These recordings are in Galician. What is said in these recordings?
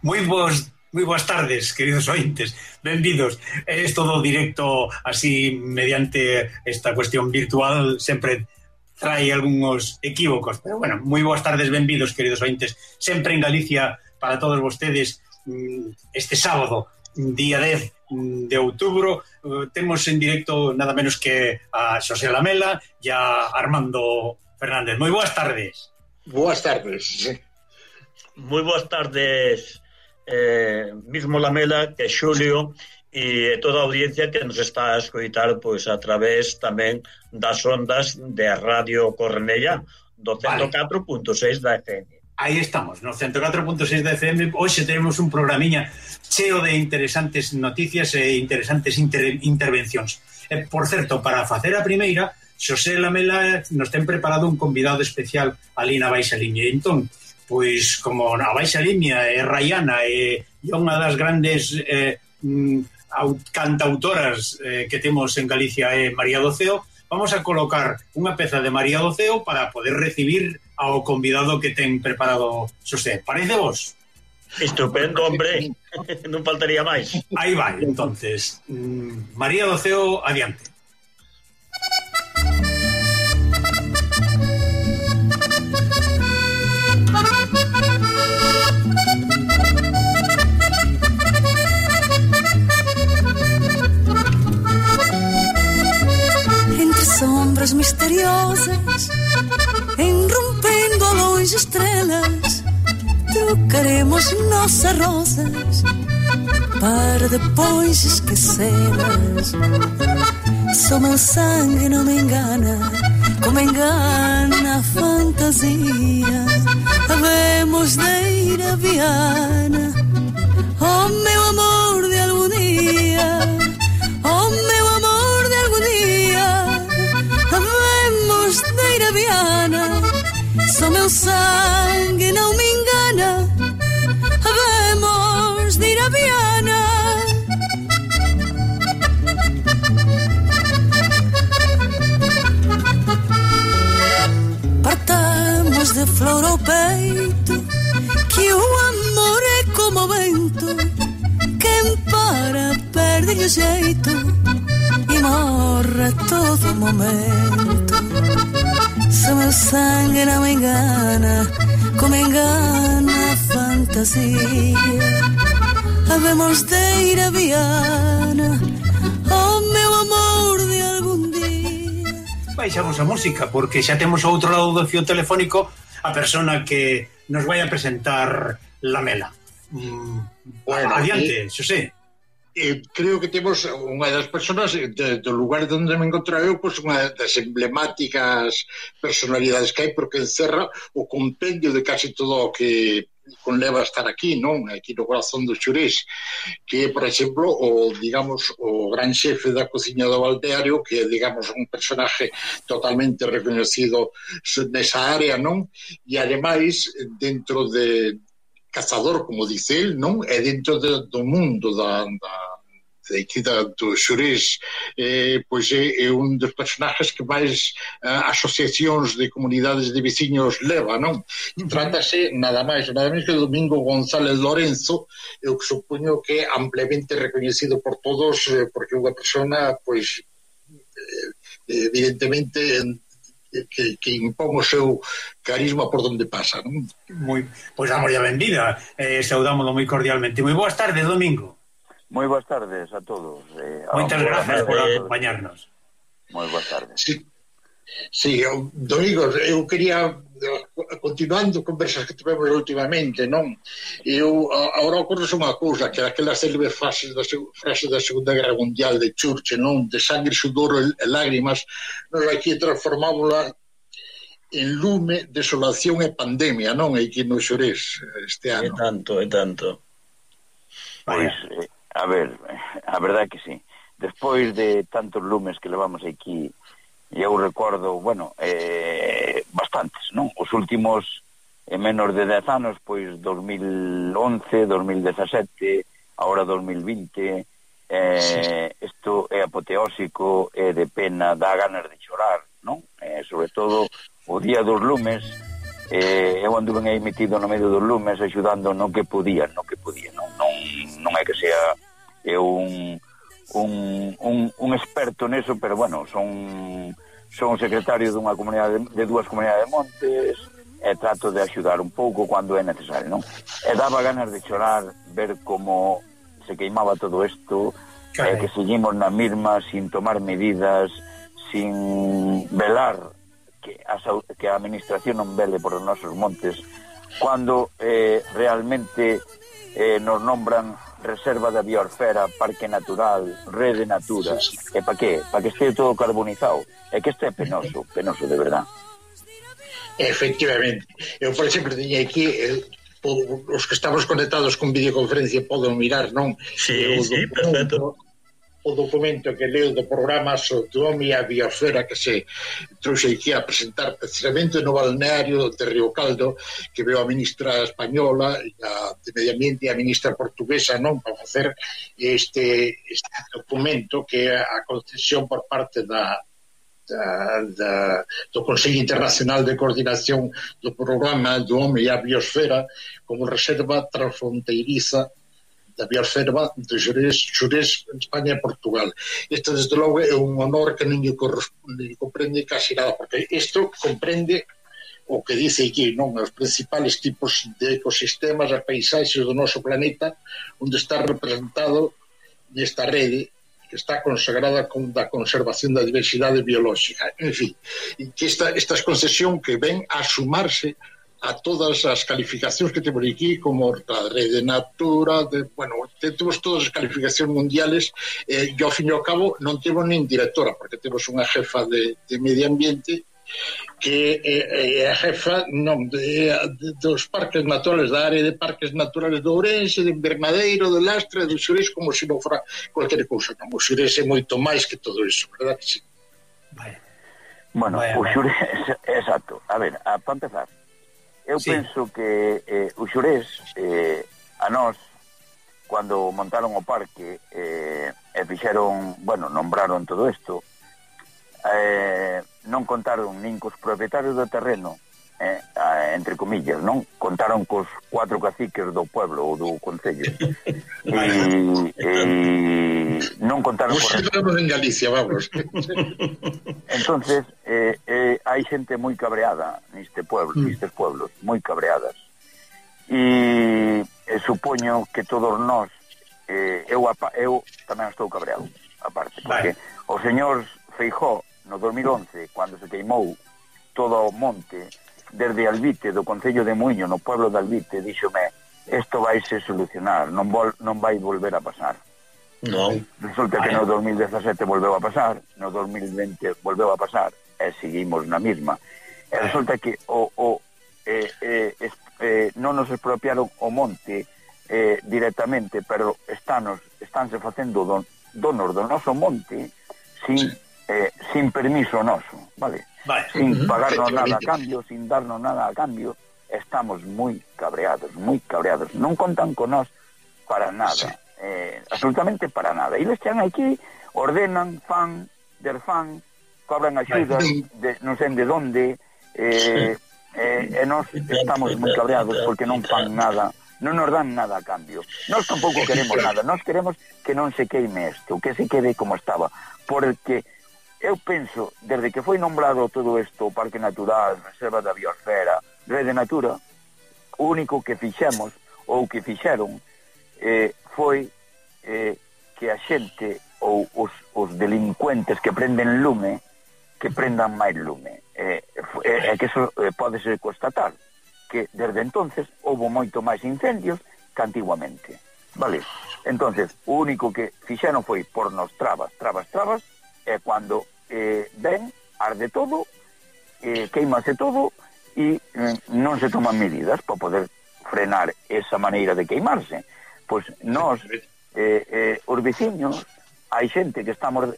Moi boas tardes, queridos ointes. Benvidos. Isto do directo así mediante esta cuestión virtual sempre trae algúns equívocos, pero bueno, moi boas tardes, benvidos, queridos ointes. Sempre en Galicia para todos vostedes este sábado, día 10 de outubro, temos en directo nada menos que a Xosé Lamela e a Armando Fernández. Moi boas tardes. Boas tardes. Moi boas tardes, mismo Lamela, que Xulio e toda a audiencia que nos está a escoitar pois a través tamén das ondas de Radio Cornellá do 104.6 da FM. Aí estamos, no 104.6 da FM. Hoxe temos un programiña cheo de interesantes noticias e interesantes intervencións. Por certo, para facer a primeira, Xosé Lamela nos ten preparado un convidado especial ali na Baixa Limia. Entón, pois, como a Baixa Limia é raiana e unha das grandes cantautoras que temos en Galicia é María do Ceo, vamos a colocar unha peza de María do Ceo para poder recibir ao convidado que ten preparado Xosé. Parece vos? Estupendo, hombre. Non faltaría máis. Aí vai, entonces. María do Ceo, adiante. Sombras misteriosas, enrompendo a longe estrelas, trocaremos nossas rosas para depois esquecê-las. Só meu sangue não me engana, como engana a fantasia. Havemos de ir a Viana, oh meu amor de algum dia, oh meu amor de algum dia. Havemos de ir a Viana, só meu sangue não me engana. Havemos de ir a Viana. Partamos de flor ao peito, que o amor é como o vento, quem para perde o jeito e morre a todo momento. Se meu sangue não me engana, como engana a fantasia, havemos de ir a Viana, oh meu amor de algum dia. Baixamos a música, porque xa temos ao outro lado do fio telefónico a persona que nos vai a presentar Lamela. Bueno, adiante, Xosé. Creo que temos unha das persoas do lugar onde me encontro eu, pois unha das emblemáticas personalidades que hai, porque encerra o compendio de casi todo o que conleva a estar aquí, non? Aquí no corazón do Xurés, que é, por exemplo, o, digamos, o gran xefe da cociña do balneario, que é, digamos, un personaje totalmente reconocido nesa área, non? E, ademais, dentro de cazador, como dice el, non? É dentro do mundo do Xurés, pois é un dos personajes que máis asociacións de comunidades de veciños leva, non? Trátase nada máis que Domingo González Lorenzo, eu que supoño que é ampliamente reconhecido por todos, porque é unha persona, pois, evidentemente que impón o seu carisma por donde pasa, non? Pois damos a benvida, saudámoslo moi cordialmente. Moi boas tardes, Domingo. Moi boas tardes a todos. Moitas gracias por acompañarnos. Moi boas tardes. Sí, Domingo, eu quería, continuando conversas que tivemos últimamente, non? Eu, agora ocorre unha cousa, que aquela célebre frase da Segunda Guerra Mundial de Churchill, non? De sangre, sudor e lágrimas, nos aquí transformámola en lume, desolación e pandemia, non? Aquí no Xurés este ano. É tanto. Pois, a ver, a verdade que sí. Despois de tantos lumes que levamos aquí, eu recordo, bueno, bastantes, non? Os últimos menos de 10 anos, pois 2011, 2017, ahora 2020, isto é apoteósico, é de pena, dá ganas de chorar, non? Sobre todo o Día dos Lumes, eu anduve aí metido no medio dos lumes axudando no que podía, non é que sea eu un experto neso, pero bueno, son secretario dunha comunidade, de dúas comunidades de montes, e trato de axudar un pouco cando é necesario, non? E daba ganas de chorar ver como se queimaba todo isto, que seguimos na mesma sin tomar medidas, sin velar que a administración non vele por os nosos montes, cando realmente nos nombran reserva da biosfera, parque natural, rede natura. E para que? Para que este todo carbonizado. É que isto é penoso de verdad. Efectivamente. Eu, por exemplo, teña aquí os que estamos conectados con videoconferencia poden mirar, non? Sí, perfecto. O documento que leo do programa sobre o home e a biosfera que se trouxe aquí a presentar precisamente no balneario de Río Caldo, que veo a ministra española de Medio Ambiente e a ministra portuguesa, non, para facer este documento que é a concesión por parte do Consello Internacional de Coordinación do Programa do Home e a Biosfera como reserva transfronteiriza da biosfera de Xurés, España e Portugal. Isto, desde logo, é un honor que non lle comprende casi nada, porque isto comprende o que dice aquí, non? Os principales tipos de ecosistemas, as paisaxes do noso planeta, onde está representado nesta rede que está consagrada con da conservación da diversidade biolóxica. En fin, que esta concesión que ven a sumarse a todas as calificacións que temos aquí, como a rede natura, temos todas as calificacións mundiales, e ao fin e ao cabo non temos nin directora, porque temos unha jefa de medio ambiente que é a jefa dos parques naturales, da área de parques naturales de Ourense, de Invernadeiro, de Lastra, do Xurés, como se non fora cualquier cousa. O Xurés é moito máis que todo iso, verdad que sí? Bueno, o Xurés, exacto. A ver, para empezar, eu penso que o Xurés a nós, cando montaron o parque e fixeron, nombraron todo isto, non contaron nin cos propietarios do terreno, entre comillas, non? Contaron cos 4 caciques do pueblo ou do concello. E non contaron cos... en Galicia, vamos. Entonces, hai xente moi cabreada nestes pueblos, moi cabreadas. E supoño que todos nós, eu tamén estou cabreado, aparte, porque o señor Feijóo, no 2011, cando se queimou todo o monte, desde Albite, do Concello de Muiño, no pueblo de Albite, díxome, isto vai se solucionar, non vai volver a pasar. Non. Resulta que no 2017 volveu a pasar, no 2020 volveu a pasar, e seguimos na mesma. E resulta que non nos expropiaron o monte directamente, pero estánse facendo donos do noso monte sin permiso noso, vale? Sin pagarnos nada a cambio, sin darnos nada a cambio. Estamos moi cabreados. Non contan con nós para nada, absolutamente para nada. E eles están aquí, ordenan, fan, cobran axudas, non sei de onde, e nós estamos moi cabreados porque non fan nada, non nos dan nada a cambio. Nós tampouco queremos nada, nós queremos que non se queime isto, que se quede como estaba, porque eu penso, desde que foi nombrado todo isto, Parque Natural, Reserva da Biosfera, Rede Natura, o único que fixemos, ou que fixeron, foi que a xente, ou os delincuentes que prenden lume, que prendan máis lume. Que eso podese constatar, que desde entonces houve moito máis incendios que antiguamente. Vale? Entonces, o único que fixeron foi pornos trabas, e cando ven, arde todo, queimase todo, e non se toman medidas para poder frenar esa maneira de queimarse. Pois nós, os veciños, hai xente que estamos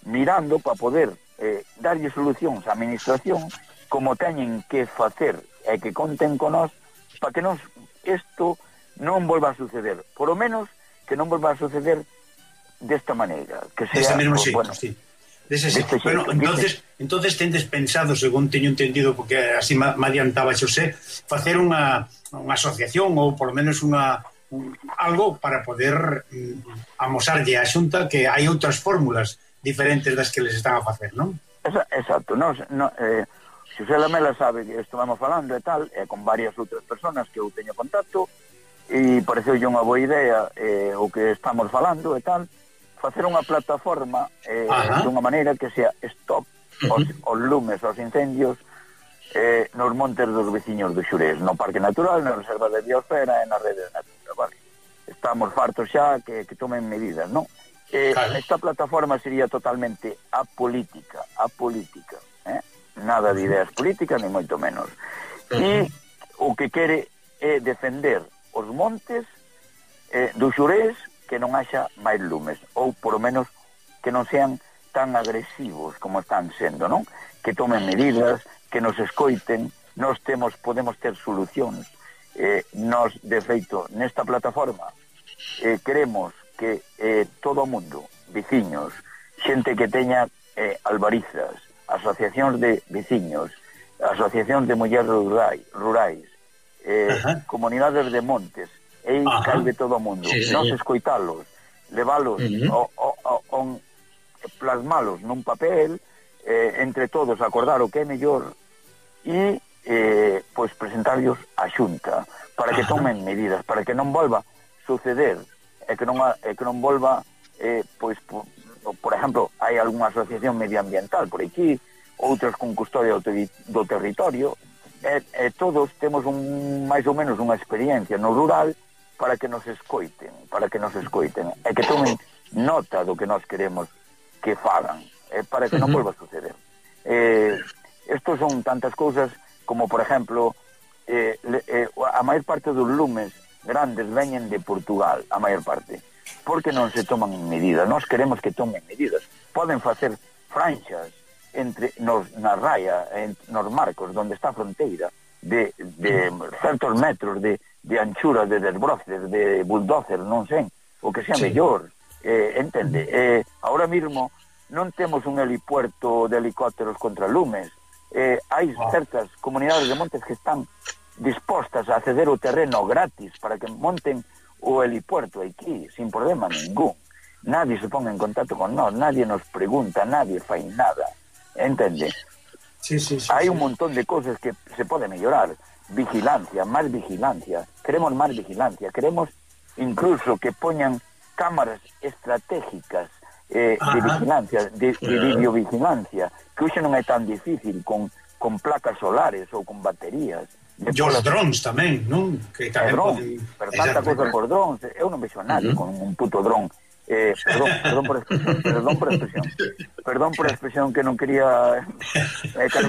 mirando para poder darlle solucións á administración como teñen que facer e que conten con nós para que isto non volva a suceder, por lo menos que non volva a suceder desta maneira, que sea, mesmo xeito, sí. Bueno, entonces tendes pensado, según teño entendido, porque así me adiantaba Xosé, facer unha asociación ou polo menos algo para poder amosarlle á Xunta que hai outras fórmulas diferentes das que les están a facer, non? Exacto. Xosé Lamela sabe que estuvamos falando e tal, con varias outras personas que eu teño contacto, e pareceu unha boa idea o que estamos falando e tal, facer unha plataforma dunha maneira que sea stop os lumes, os incendios nos montes dos veciños do Xurés, no Parque Natural, na Reserva de Biosfera e na Rede de Natura, vale? Estamos fartos xa que tomen medidas, non? Esta plataforma sería totalmente apolítica, nada de ideas políticas, ni moito menos. E o que quere é defender os montes do Xurés, que non haxa máis lumes, ou por lo menos que non sean tan agresivos como están sendo, non? Que tomen medidas, que nos escoiten, podemos ter solucións. Nos, de feito, nesta plataforma queremos que todo o mundo, veciños, xente que teña albarizas, asociacións de veciños, asociacións de mulleres rurais, comunidades de montes, calve todo o mundo, nos escoitalos, levalos, plasmalos nun papel, entre todos acordar o que é mellor e pois presentarlos á Xunta para que tomen medidas, para que non volva suceder e que non volva pois por exemplo, hai algunha asociación medioambiental por aquí, outras con custodia do territorio, e todos temos máis ou menos unha experiencia no rural para que nos escoiten, e que tomen nota do que nós queremos que fagan, para que non volva a suceder. Estos son tantas cousas como, por exemplo, a maior parte dos lumes grandes veñen de Portugal, a maior parte, porque non se toman medidas. Nós queremos que tomen medidas. Poden facer franxas na raya, nos marcos, onde está a fronteira, de certos metros de anchura, de desbroces, de bulldozer, non sei, o que sea mellor, entende? Ahora mismo non temos un helipuerto de helicópteros contra lumes, hai certas comunidades de montes que están dispostas a ceder o terreno gratis para que monten o helipuerto aquí, sin problema ningún. Nadie se ponga en contacto con nós, nadie nos pregunta, nadie fai nada, entende? Hai un montón de cosas que se pode mellorar. Vigilancia, máis vigilancia, queremos máis vigilancia, queremos incluso que poñan cámaras estratégicas de vigilancia, de videovigilancia, que hoxe non é tan difícil con placas solares ou con baterías. E os drones tamén, non? Que tamén poden... Pero tanta cosa por drones, eu non vexo a nadie con un puto dron. Perdón por expresión que non quería xa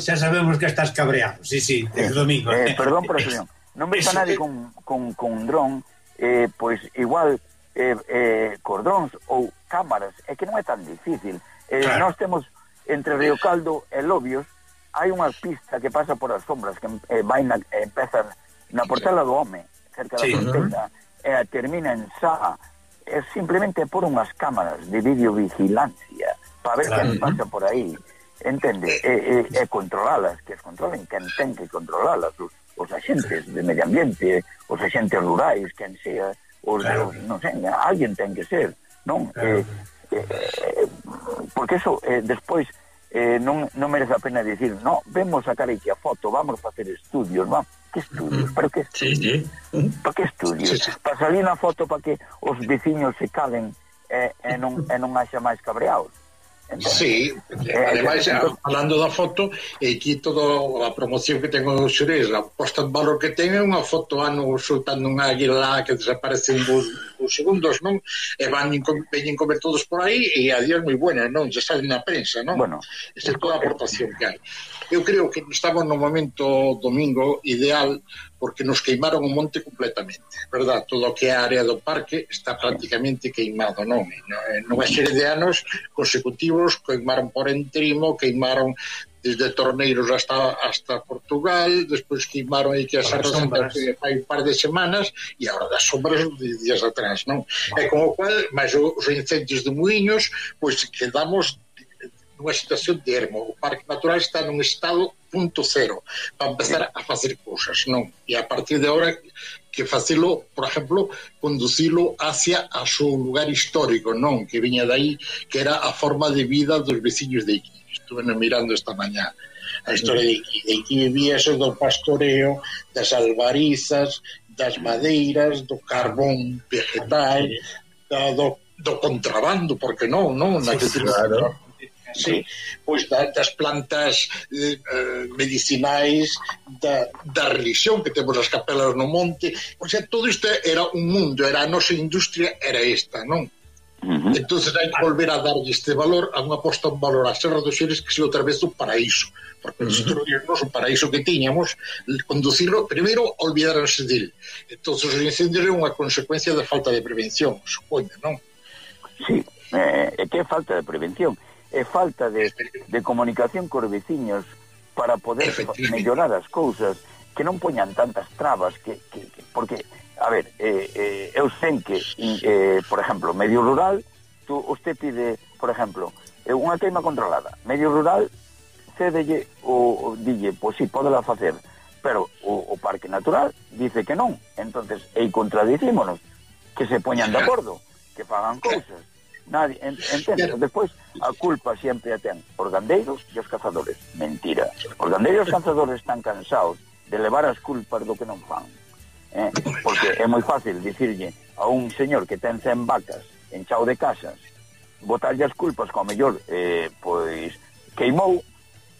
sabemos que estás cabreado, sí, Domingo. Perdón por expresión, non vexo a nadie con un dron, pois igual cos drones ou cámaras, é que non é tan difícil. Nós temos entre Río Caldo e Lobios, hai unha pista que pasa por as sombras que empeza na Portela do Home, cerca da fronteira, e termina en Sá. É simplemente por unhas cámaras de videovigilancia para ver quen pasa por aí, entende? E controlalas, que as controlen quen ten que controlalas, os axentes de medio ambiente, os axentes rurais, quen sea, non sei, alguén ten que ser, non? Porque eso despois non merece a pena dicir, no, vemos sacar aquí a foto, vamos a facer estudios, vamos. Que estudios? ¿Pero qué estudios? ¿Para qué estudios? Para salir na foto para que os veciños se calen e non haxa máis cabreados. Sí, ademais, falando da foto, aquí toda a promoción que tengo no Xurés, a posta en valor que ten é unha foto soltando unha águila que desaparece en 2 segundos, non? E veñen comer todos por aí e a Dios moi buena, non? Ya salen na prensa, non? Bueno, esa é toda a aportación que hai. Eu creo que estamos no momento domingo ideal porque nos queimaron o monte completamente, verdad? Todo o que é a área do parque está prácticamente queimado, non? Nunha serie de anos consecutivos queimaron por entrimo, queimaron desde Torneiros hasta Portugal, despois queimaron aí que as arrasas hai un par de semanas, e agora das sombras de días atrás, non? E con o cual, máis os incendios de Muiños, pois quedamos nunha situación de ermo. O Parque Natural está nun estado punto cero para empezar a facer cousas, non? E a partir de ahora que facelo, por exemplo, conducilo hacia a seu lugar histórico, non? Que viña dai, que era a forma de vida dos veciños de Iqui. Estuve mirando esta mañá a historia de Iqui. De Iqui vivía eso do pastoreo, das albarizas, das madeiras, do carbón vegetal, do contrabando, porque non? Sí, claro. Sí, pois das plantas medicinais, da religión que temos as capelas no monte, o sea, todo isto era un mundo, era a nosa industria, era esta, non? Entonces hai que volver a darlle este valor, a unha posta en valor a Serra dos Xeres, que se outra vez o paraíso, porque destruirnos o paraíso que tiñamos, conducirlo, primeiro olvidarse del. Entonces os incendios é unha consecuencia da falta de prevención, supoño, non? Sí, é que é falta de prevención, é falta de comunicación cos veciños para poder mellorar as cousas, que non poñan tantas trabas, porque, a ver, eu sei que, por exemplo, medio rural, usted pide, por exemplo, unha queima controlada, medio rural, cédelle ou dille, pois sí, podela facer, pero o Parque Natural dice que non, entonces, e contradicímonos, que se poñan de acordo, que fagan cousas. Nadie, entende? Despois a culpa sempre a ten os gandeiros e os cazadores. Mentira. Os gandeiros e os cazadores están cansados de levar as culpas do que non fan. Porque é moi fácil dicirlle a un señor que ten 100 vacas en chao de casas, botarlle as culpas que ao mellor pois queimou,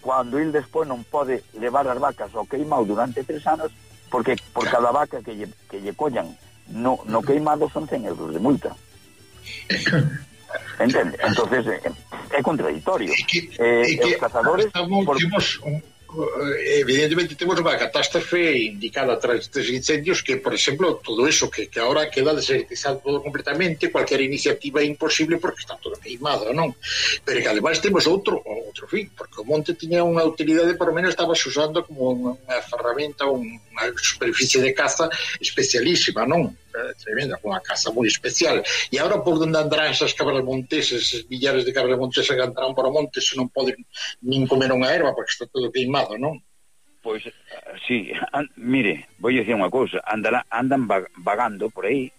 cando il despois non pode levar as vacas ao queimado durante 3 anos, porque por cada vaca que lle collan no queimado son 100 euros de multa. Entende? Entonces é contradictorio. Os cazadores evidentemente temos unha catástrofe indicada tras estes incendios, que, por exemplo, todo eso que ahora queda desertizado todo completamente, cualquier iniciativa é imposible porque está todo queimado, non? Pero que ademais temos outro fin, porque o monte tiña unha utilidade, por lo menos estaba usando como unha ferramenta, unha superficie de caza especialísima, non? Tremenda, unha caza moi especial. E agora por onde andarán esas cabras monteses, esos millares de cabras monteses que andarán por o monte, se non poden nin comer unha erva porque está todo queimado, non? Pois, sí, mire, vou dicir unha cousa, andan vagando por aí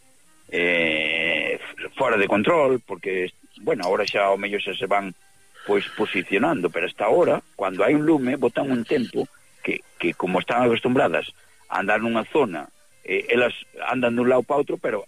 fora de control, porque, bueno, ahora xa ao mellor xa se van pois posicionando, pero hasta ahora, cando hai un lume, botan un tempo que como están acostumbradas a andar nunha zona, elas andan dun lado para outro, pero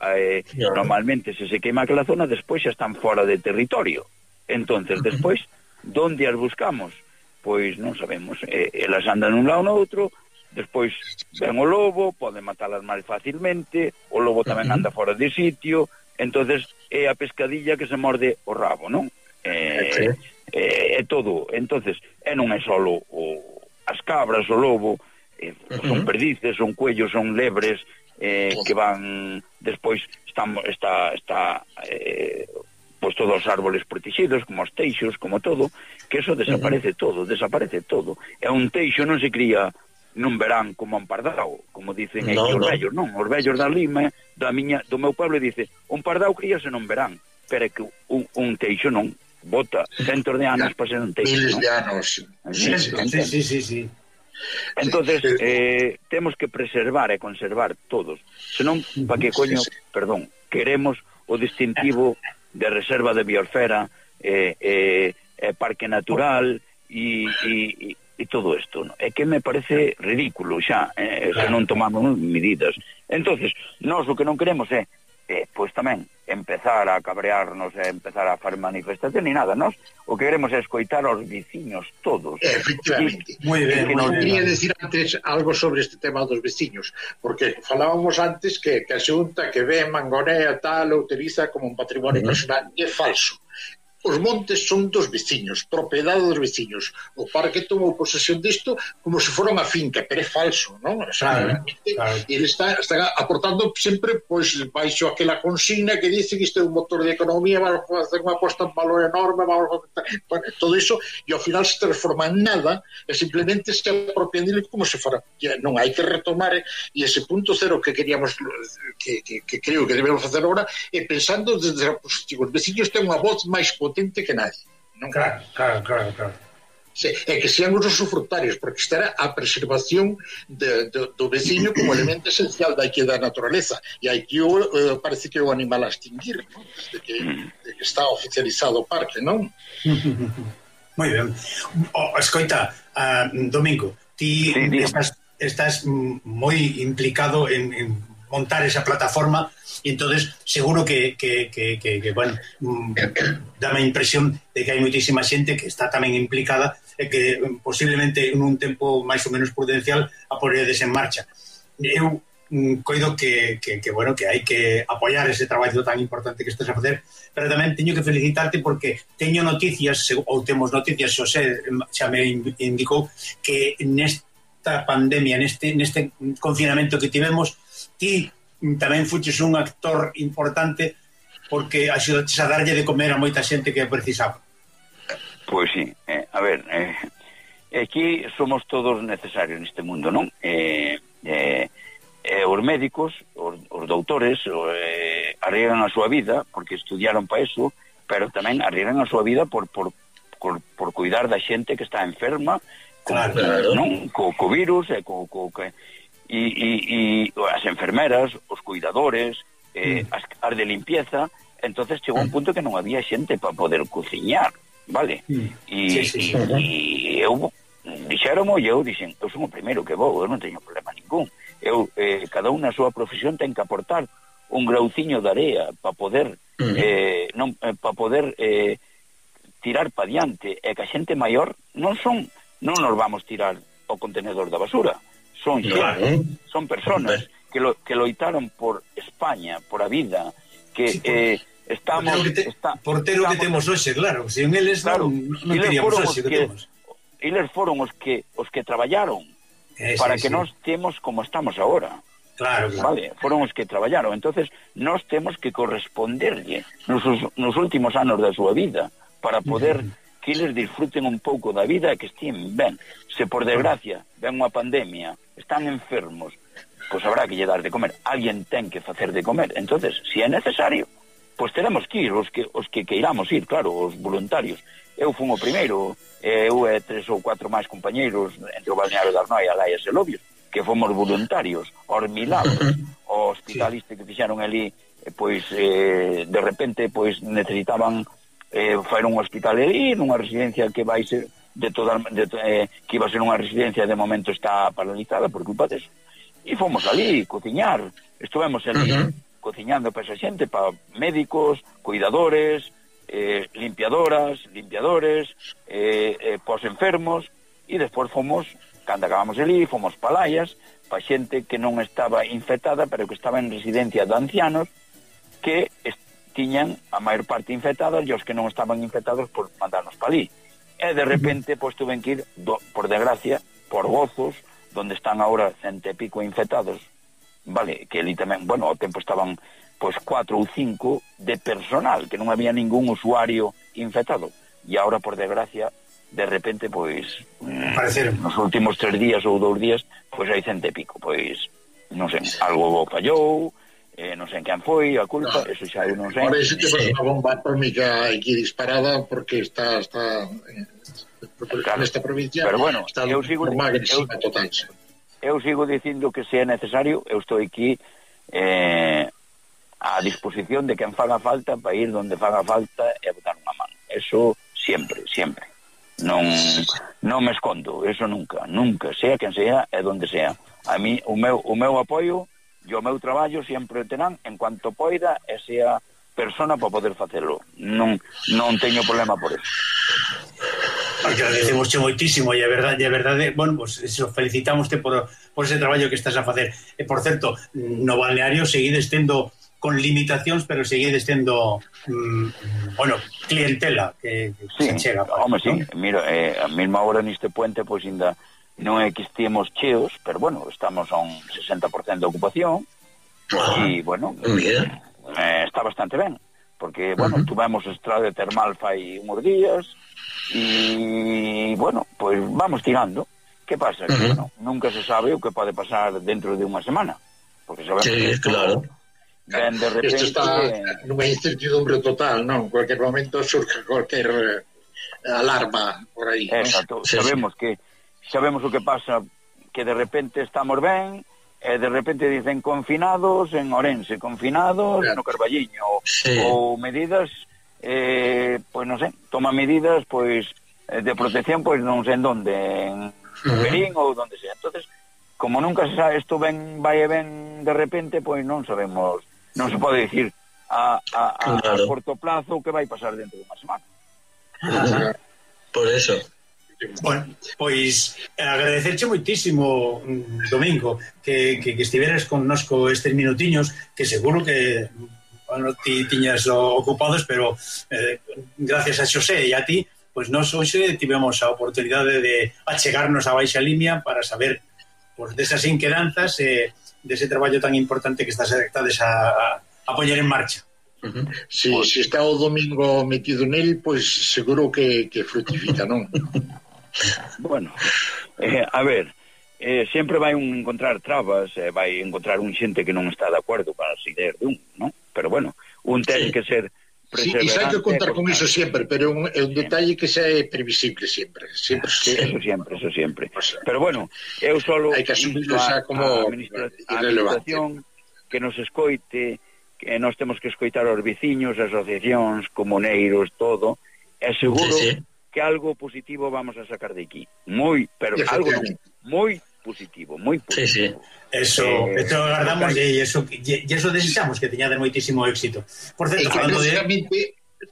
normalmente se queima aquela zona, despois xa están fora de territorio. Entonces, despois, donde as buscamos? Pois non sabemos. Elas andan dun lado no outro, despois ven o lobo, pode matalas máis facilmente, o lobo tamén anda fora de sitio, entonces é a pescadilla que se morde o rabo, non? É todo. Entonces, non é só as cabras, o lobo, son perdices, son cuellos, son lebres, que van despois está pois todos os árboles protegidos, como os teixos, como todo, que eso desaparece todo. E un teixo non se cría nun verán como un pardao, como dicen aí os vellos, non? Os vellos da Lima, do meu pueblo, dice, un pardao críase nun verán, pero é que un teixo non, bota centos de anos para ser un teixo, miles de anos. Sí. Entonces, temos que preservar e conservar todos. Senón, para que coño, perdón, queremos o distintivo de reserva de biosfera, parque natural e todo isto, ¿no? É que me parece ridículo xa, se non tomamos medidas. Entonces, nós o que non queremos é pois tamén empezar a cabrearnos e empezar a fazer manifestación ni nada. Nós o que queremos é escoitar aos veciños todos. Efectivamente. Moi ben. Quería decir antes algo sobre este tema dos veciños, porque falábamos antes que a Xunta que ve Mangonea tal o utiliza como un patrimonio personal, e é falso. os montes son dos veciños, propiedade dos veciños. O parque tomou posesión disto como se fora unha finca, pero é falso, non? O sea, claro. Ele está aportando sempre pois baixo aquela consigna que dice que isto é un motor de economía, vamos a facer unha aposta en valor enorme, vamos a facer todo iso, e ao final se transforma en nada, e simplemente se apropian dele como se fora. Non hai que retomar, e ese punto cero que queríamos, que creo que debemos facer agora, é pensando desde a posición. Os veciños ten unha voz máis potente que nadie, non? Claro. É que sean os usufructarios, porque estará a preservación do veciño como elemento esencial da naturaleza, e aquí parece que é o animal a extinguir, non? Desde que está oficializado o parque, non? Moi ben. Escoita, Domingo, ti estás moi implicado en montar esa plataforma, e entonces seguro que bueno, dame a impresión de que hai moitísima xente que está tamén implicada e que posiblemente en un tempo máis ou menos prudencial a ponedes en marcha. Eu coido que bueno, que hai que apoiar ese traballo tan importante que estás a facer, pero tamén teño que felicitarte porque teño noticias, ou temos noticias, Xosé xa me indicou que nesta pandemia, neste confinamento que tivemos, ti tamén fuches un actor importante porque axudaches a darlle de comer a moita xente que precisaba. Pois sí, a ver, aquí somos todos necesarios neste mundo, non? Os médicos, os doutores arriesgan a súa vida porque estudiaron para eso, pero tamén arriesgan a súa vida por cuidar da xente que está enferma, non? Co virus, e as enfermeras, os cuidadores, as de limpieza. Entonces chegou un punto que non había xente para poder cociñar, vale? E eu dixéromo, e eu dixen, eu son o primeiro que vou, eu non teño problema ningún. Cada un na súa profesión ten que aportar un grauciño de area para poder tirar pa diante, e que a xente maior non nos vamos tirar ao contenedor da basura. Son personas que loitaron por España, por a vida, que estamos... Por ter o que temos hoxe, claro. Se en eles non teríamos hoxe que temos. Eles foron os que traballaron para que nós temos como estamos agora. Claro. Vale, foron os que traballaron. Entonces, nós temos que corresponderlle nos últimos anos da súa vida para poder... que eles disfruten un pouco da vida e que estén ben. Se por desgracia ven unha pandemia, están enfermos, pois habrá que lle dar de comer. Alguén ten que facer de comer. Entonces, se é necesario, pois teremos que ir, os que queiramos ir, claro, os voluntarios. Eu fui o primeiro, eu e 3 ou 4 máis compañeiros entre o Balneario de Arnoia, Laias e Lobios, que fomos voluntarios aos Milagros, o hospital que fixeron ali, pois de repente pois necesitaban faer un hospital ali, nunha residencia que vai ser que iba a ser unha residencia, de momento está paralizada por culpa deso, e fomos ali cociñar, estivemos ali cociñando para esa xente, para médicos, cuidadores, limpiadores, pos enfermos, e despois fomos, cando acabamos ali, fomos para Laias, para xente que non estaba infectada, pero que estaba en residencia de ancianos, que tiñan a maior parte infectadas, e os que non estaban infectados por mandarnos para ali. E de repente pois tuven que ir, por desgracia, por Gozos, donde están agora 100 e pico infectados, vale, que ali tamén, bueno, ao tempo estaban pois 4 ou 5 de personal, que non había ningún usuario infectado, e agora por desgracia de repente pois nos últimos 3 días ou 2 días pois hai 100 e pico, pois non sei, algo fallou, non sei quen foi a culpa, eso xa eu non sei. Ahora ese temos unha bomba atómica aquí disparada porque está nesta provincia, pero bueno, está unha agresiva total. Eu sigo dicindo que se é necesario, eu estou aquí a disposición de quen faga falta para ir donde faga falta e botar unha mano. Eso sempre. Non me escondo, eso nunca, sea quen sea e donde sea. A mí o meu apoio e o meu traballo sempre terán en cuanto poida e sea persona para poder facelo. Non teño problema por eso. Agradecemos moitísimo, e a verdade, bueno, pues eso, felicitámoste por ese traballo que estás a facer. E por certo, no balneario seguides tendo con limitacións, pero seguides tendo clientela que se chega. Home, sí, mira, a mesma hora neste puente, pois ainda non é que estiemos cheos, pero bueno, estamos a un 60% de ocupación, e bueno, está bastante ben, porque, bueno, tuvemos estrada termal fai uns días, e, bueno, pois vamos tirando. Que pasa? Que, bueno, nunca se sabe o que pode pasar dentro de unha semana, porque sabemos que claro. Ben de repente... Isto está nunha incertidumbre total, non? En cualquier momento surge cualquier alarma por aí. Exacto, sabemos o que pasa, que de repente estamos ben, e de repente dicen confinados en Ourense, confinados no Carballiño, ou medidas, pois non sei, toma medidas pois de protección, pois non sei en donde, en Perín ou donde sea. Entonces, como nunca se sabe, isto vai e ven de repente, pois non sabemos, non se pode dicir a corto plazo o que vai pasar dentro de unha semana. Por eso. Bueno, pois agradecerche moitísimo, Domingo, que estiveras connosco estes minutiños, que seguro que ti tiñas ocupados, pero gracias a Xosé e a ti, pois nós hoxe tivemos a oportunidade de achegarnos a Baixa Limia para saber desas inquedanzas dese traballo tan importante que estades a poñer en marcha. Si está o Domingo metido nel, pois seguro que fructifica, non? Bueno, a ver, sempre vai encontrar trabas, vai encontrar xente que non está de acordo para as ideas de non? Pero bueno, ten que ser perseverante. Sí, hai que contar con iso sempre, pero é un detalle que xa é previsible sempre. Sí, eso sempre. Pero bueno, eu solo hai que asumirlo xa como a administración que nos escoite, que nós temos que escoitar os veciños, asociacións, comuneiros, todo, é seguro que algo positivo vamos a sacar de aquí. Pero algo moi positivo, moi positivo. Eso agardamos e eso desexamos que teñades moitísimo éxito. Por certo,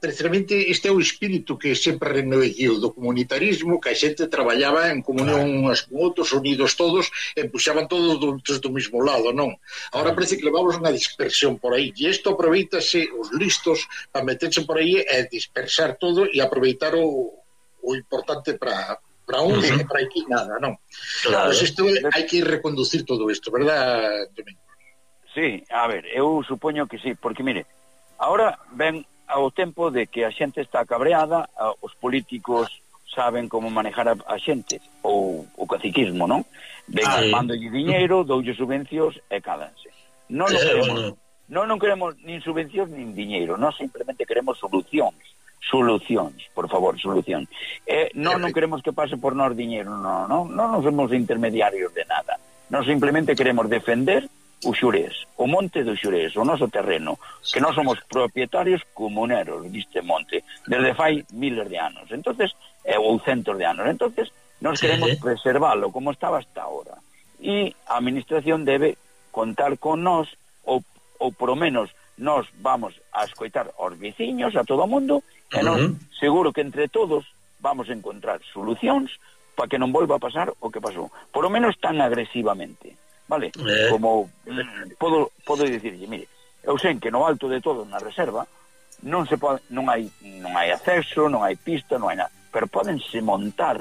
precisamente este é o espírito que sempre renoveu do comunitarismo, que a xente traballaba en comunión unhas con outros, unidos todos, e puxaban todos do mesmo lado, non? Agora parece que levamos unha dispersión por aí, e isto aproveitase os listos para meterse por aí e dispersar todo e aproveitar o importante para uns e para aquí nada, non? Claro. Pues isto hai que reconducir todo isto, verdad, Domingo? Sí, a ver, eu supoño que sí, porque mire, ahora ven ao tempo de que a xente está cabreada, os políticos saben como manejar a xente, ou o caciquismo, non? Ven, mandolle diñeiro, doulle subvencións e cádanse. Non queremos nin subvencións nin diñeiro, nós simplemente queremos solucións, por favor, solucións. Non queremos que pase por nós diñeiro, non somos intermediarios de nada. Nós simplemente queremos defender o Xurés, o monte do Xurés, o noso terreno, que nós somos propietarios comuneros deste monte, desde fai miles de anos, entonces, ou centos de anos, entonces, nós queremos preservalo como estaba hasta ahora, e a administración debe contar con nós, ou por menos nós vamos a escoitar aos veciños, a todo o mundo, e nós seguro que entre todos vamos a encontrar solucións para que non volva a pasar o que pasou, por lo menos tan agresivamente. Vale, como podo dicirlle, mire, eu sei que no alto de todo na reserva non hai acceso, non hai pista, non hai nada, pero pódense montar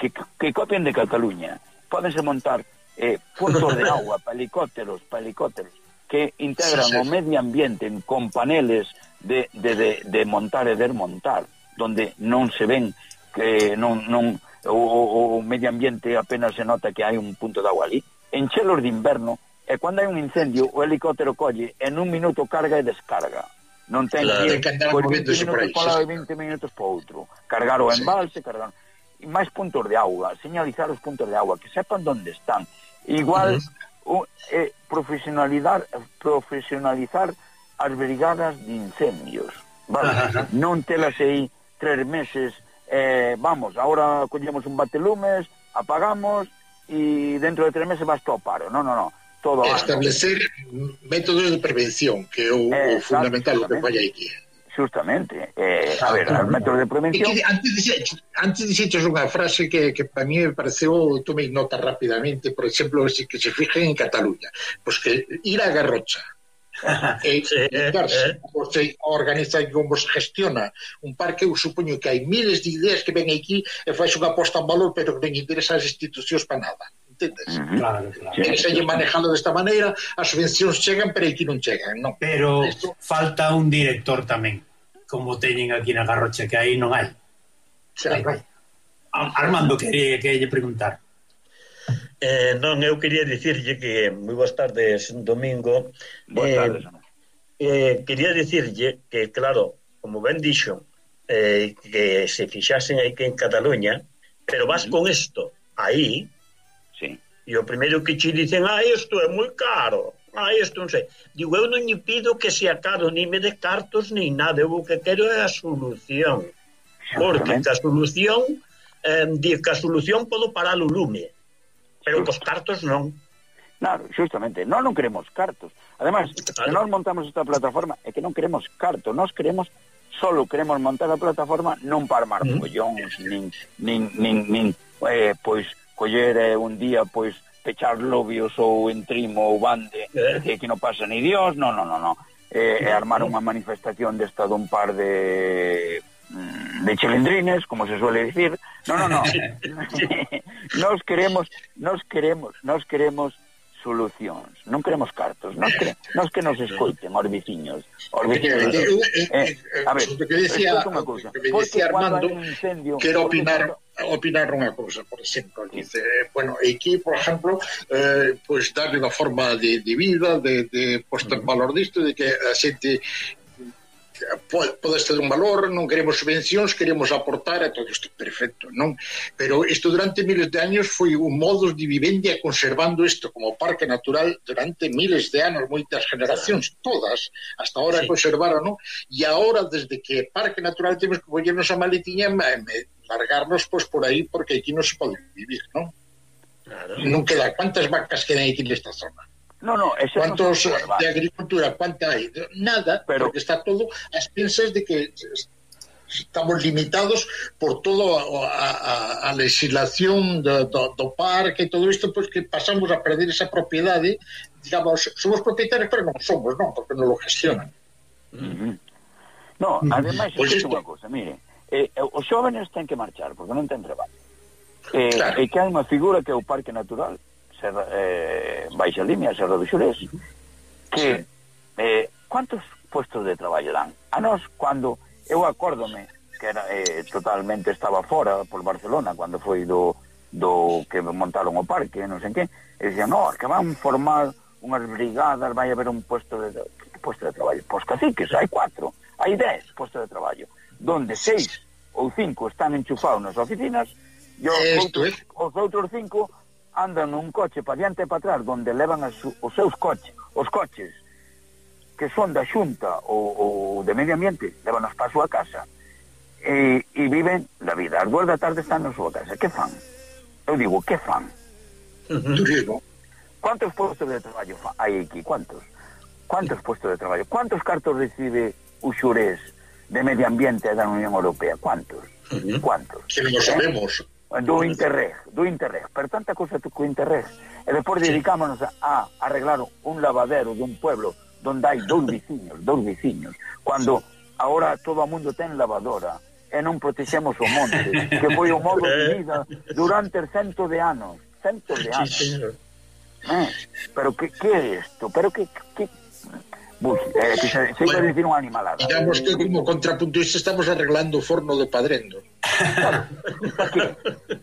que copien de Cataluña, pódense montar puntos de agua para helicópteros que integran o medio ambiente con paneles de montar e desmontar, donde non se ven que o medio ambiente apenas se nota que hai un punto de agua ali. En chelos de inverno, e cando hai un incendio, o helicóptero colle en un minuto carga e descarga. Non ten que ir por 20 minutos para lá e 20 minutos para outro. Cargar o embalse, cargar... E máis puntos de auga, señalizar os puntos de auga, que sepan onde están. Igual, profesionalizar as brigadas de incendios. Vale? Non telas aí 3 meses, vamos, ahora collemos un batelumes, apagamos... e dentro de 3 meses vas todo paro. Non. Todo establecer métodos de prevención, que é o fundamental o que falla aquí. Justamente. A ver, os métodos de prevención... Antes dixeches unha frase que para mí me pareceu, tomei nota rapidamente, por exemplo, que se fijen en Cataluña, pois que ir a Garrocha Você organiza como se gestiona un parque. Eu supoño que hai miles de ideas que ven aquí e faz unha aposta en valor, pero que non interesa as institucións para nada, entendes? Claro. Que se lle manejalo desta maneira, as subvencións chegan, pero aquí non chegan, non? Pero falta un director tamén, como teñen aquí na Garrocha, que aí non hai. Armando, que lle preguntar. Non, eu quería dicirlle que moi boas tardes, Domingo. Boas tardes. Quería dicirlle que, claro, como ben dixo, que se fixasen aí que en Cataluña, pero vas con isto aí, sí. E o primeiro que che dicen, isto é moi caro, isto non sei. Digo, eu non lle pido que sea caro, ni me de cartos, ni nada, eu o que quero é a solución. Porque a solución, di que a solución podo parar o lume, pero cos cartos non. Claro, justamente, non queremos cartos. Además, se nós montamos esta plataforma é que non queremos cartos, nós queremos montar a plataforma non para armar follóns, nin pois coller un día pois pechar lobios ou entrimo ou bande, que non pasa ni Dios, non. Armar unha manifestación desta dun par de chilindrines, como se suele decir. No. Nos queremos solucións, non queremos cartos, nos que nos escoiten os veciños. A ver, que decía Armando, quero opinar unha cousa, por exemplo, dice, bueno, aquí, por exemplo, pues darle unha forma de vida, de posta en valor disto, de que a xente pode ter un valor, non queremos subvencións, queremos aportar a todo isto, perfecto, non? Pero isto durante miles de años foi un modus de vivencia conservando isto como parque natural durante miles de anos, moitas generacións, todas, hasta ahora conservaron, non? E agora, desde que parque natural temos que collernos a maletiña e largarnos pois por aí, porque aquí non se pode vivir, non? Claro. Non queda, ¿cuántas vacas quedan aquí nesta zona? No, ¿cuántos de agricultura? ¿Cuánta hay? Nada, pero porque está todo a expensas de que estamos limitados por toda a legislación do parque e todo isto, pois que pasamos a perder esa propiedade, digamos, somos propietarios, pero non somos, non, porque non lo gestionan. No, ademais, pues é unha cosa, mire, os xóvenes ten que marchar, porque non ten traballo. Claro. E que hai unha figura que é o Parque Natural, Baixa Limia, Serra do Xurés, que cuántos puestos de traballo dan? A nós, cando eu acórdome que era totalmente estaba fora por Barcelona, cando foi do que montaron o parque, non sei que, e dicían, no, que van formar unhas brigadas, vai haber un puesto de traballo. Pois caciques, hai 4, hai 10 postos de traballo, donde 6 ou 5 están enchufados nas oficinas, e os outros 5 andan nun coche para diante e para atrás, donde levan os seus coches, os coches que son da Xunta ou de Medio Ambiente, levan para a súa casa e viven la vida. As 2 da tarde están na súa casa. Que fan? Eu digo, que fan? Turismo. ¿Cuántos puestos de traballo hai aquí? ¿Cuántos puestos de traballo? ¿Cuántos cartos recibe o Xurés de Medio Ambiente da Unión Europea? ¿Cuántos? Que non sabemos. Do Interreg, pero tanta cosa co Interreg, e depois dedicámonos a arreglar un lavadero dun pueblo donde hai dous veciños, cando agora todo o mundo ten lavadora e non protexemos o monte, que foi o modo de vida durante centos de anos. Pero que é isto? Pero que se iba a dicir unha animalada. Digamos que como contrapuntista estamos arreglando o forno de Padrendo. Claro.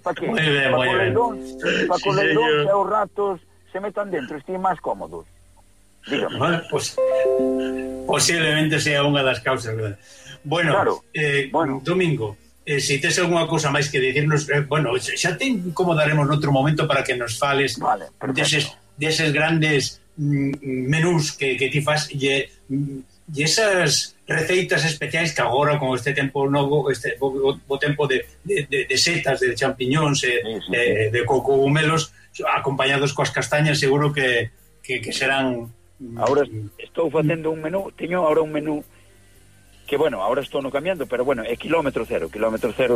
¿Para qué? Muy bien. Para que os leidóns e os ratos se metan dentro, estén máis cómodos. Dígame. Bueno, pues, posiblemente sea unha das causas, ¿verdad? Bueno, claro. Domingo, se tes algunha cousa máis que dicirnos, bueno, xa te incomodaremos noutro momento para que nos fales deses grandes menús que ti fas e esas receitas especiais que agora con este tempo novo, o tempo de setas, de champiñóns de cocogumelos acompañados coas castañas, seguro que serán. Ahora estou facendo un menú, teño ahora un menú que, bueno, ahora estou no cambiando, pero bueno, é kilómetro cero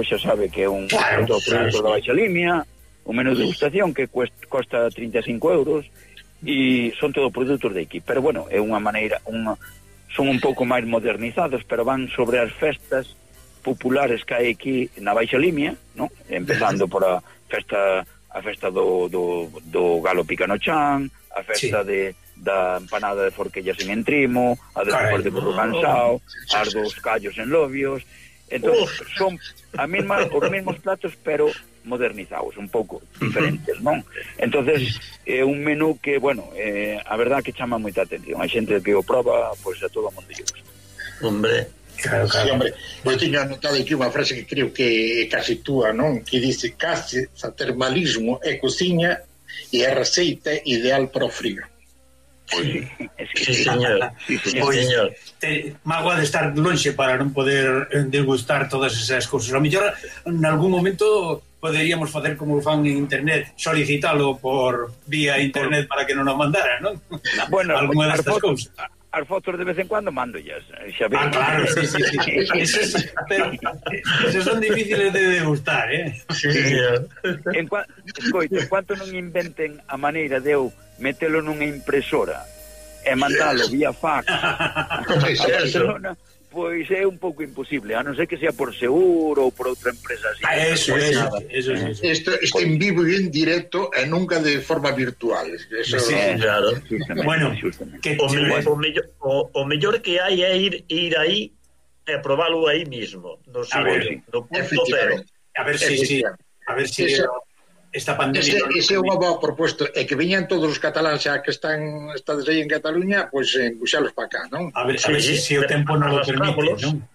xa sabe que é un produto da Baixa Limia, un menú de degustación que costa 35 euros, e son todo produtos de aquí, pero bueno, é unha maneira, son un pouco máis modernizados, pero van sobre as festas populares que hai aquí na Baixa Limia, ¿no? Empezando por a festa do Galo Picanochan, a festa da empanada de forquillas en Entrimo, a despois de burro cansao, as dos callos en Lobios. Entón, son os mesmos platos, pero modernizados, un pouco diferentes, non? Entonces, é un menú que, bueno, a verdad que chama moita atención. A xente que o proba, pois a todo o mundo lle gusta. Hombre, claro. Sí, hombre, eu teño anotado aquí unha frase que creo que é casi túa, non? Que dice, case termalismo é cociña e é receita ideal para o frío. Sí, señor. Mágoa de estar lonxe para non poder degustar todas esas cousas. A mellor, en algún momento poderíamos facer como fan en internet, solicitalo por vía internet para que non nos mandara, non? Bueno, alguna destas cousas. As fotos de vez en cuando mando ya. Claro, sí. Pero esos son difíciles de degustar, Sí. En cuanto non inventen a maneira de eu metelo nunha impresora e mandalo vía fax a Barcelona, pois é un pouco imposible, a non ser que sea por Seguro ou por outra empresa así. Eso. Isto en vivo e en directo e nunca de forma virtual. Eso sí, claro. Bueno, o mellor que hai é ir aí e probalo aí mismo, no punto cero. A ver si esta pandemia... Ese é unha boa proposta, é que veñan todos os cataláns xa que estades aí en Cataluña, pois buxalos para cá, non? A ver se o tempo non lo permite, non?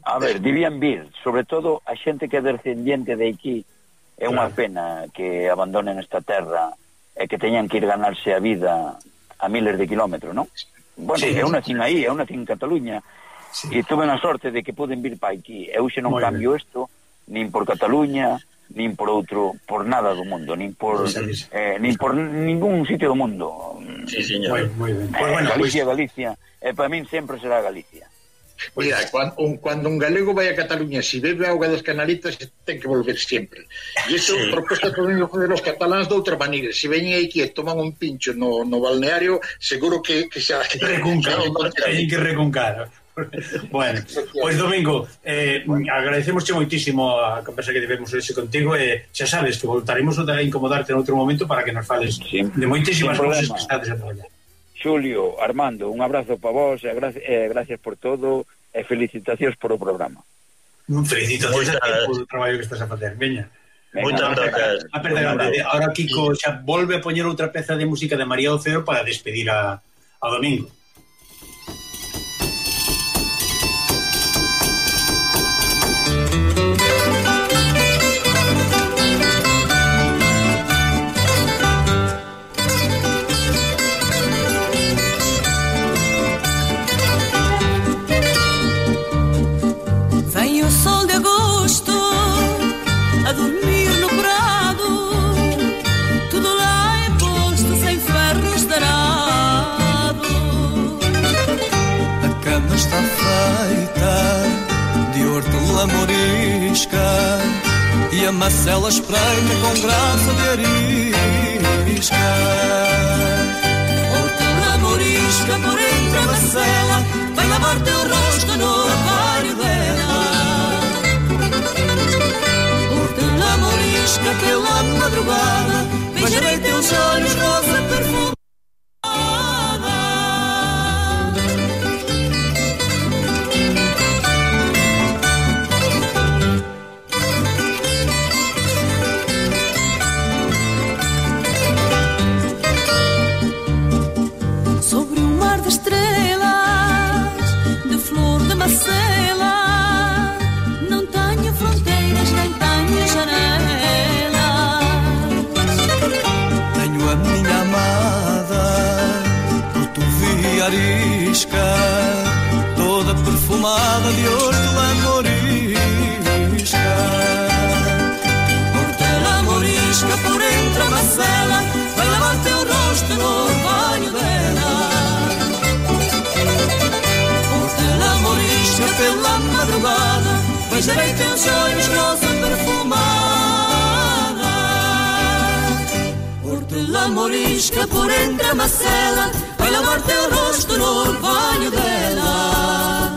A ver, debían vir, sobre todo a xente que é descendiente de aquí, é unha pena que abandonen esta terra e que teñan que ir ganarse a vida a miles de kilómetros, non? Bueno, eu nacín aí, eu nacín en Cataluña, e tuve a sorte de que poden vir para aquí. Eu xe non cambio isto, nin por Cataluña, nin por outro, por nada do mundo, nin por ningún sitio do mundo. Sí, señor. Muy bien. Galicia, para min sempre será Galicia. Mira, cuando un galego vai a Cataluña, si bebe auga das Canalitas, ten que volver sempre. E isto proposta que vengo fazer os cataláns de outra maneira. Se veñen aquí e toman un pincho no balneario, seguro que xa... Teñen que recuncar. Bueno, pois Domingo, agradecemosche moitísimo a conversa que tivemos hoxe contigo e xa sabes que voltaremos a incomodarte en outro momento para que nos fales de moitísimas cousas que estades a traballar. Xulio, Armando, un abrazo para vos e gracias por todo e felicitacións por o programa. Felicitacións por o traballo que estás a facer, veña. Moitas gracias. Ahora Kiko xa volve a poñer outra peza de música de María Oceo para despedir a Domingo. Está feita de hortelã morisca e a macela espreita com graça de arisca. Hortelã morisca por entre a macela, vai lavar teu rosto no armário dela. Hortelã morisca pela madrugada, beijarei teus olhos rosa perfumada. Não tenho fronteiras, nem tenho janelas. Tenho a minha amada, portovia arisca, toda perfumada de hortelã morisca. Hortelã morisca por entre a macela, vai lavar teu rosto no orvalho dela. Pela madrugada, beijarei teus olhos rosa perfumada. Hortelã morisca por entre a macela, vai lavarte o rosto no orvalho